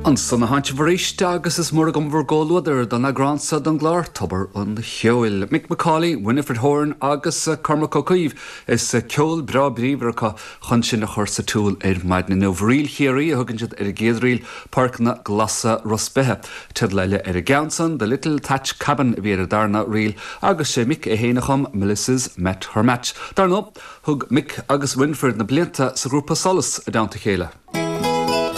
Ansan a tháin sibh arís agus is mór agam bhur gcomhluadar don eagrán seo den gclár Tobar an Cheoil. Mick McCauley, Winifred Horan agus Cormac Ó Caoimh is ceol breá bríomhar acu chun sinn a chur sa tsiúl ar maidin inniu. Ríl Chiarraí a thugann siad ar an gcéad ríl, Páirceanna Glasa Ros Beithe. Teideal eile ar an gceann san, The Little Thatch Cabin a bhí ar an darna ríl agus sé Mick é féin a chum Melissa's Met Her Match. Dar ndóigh, thug Mick agus Winifred na blianta sa ghrúpa Solas i dteannta a chéile.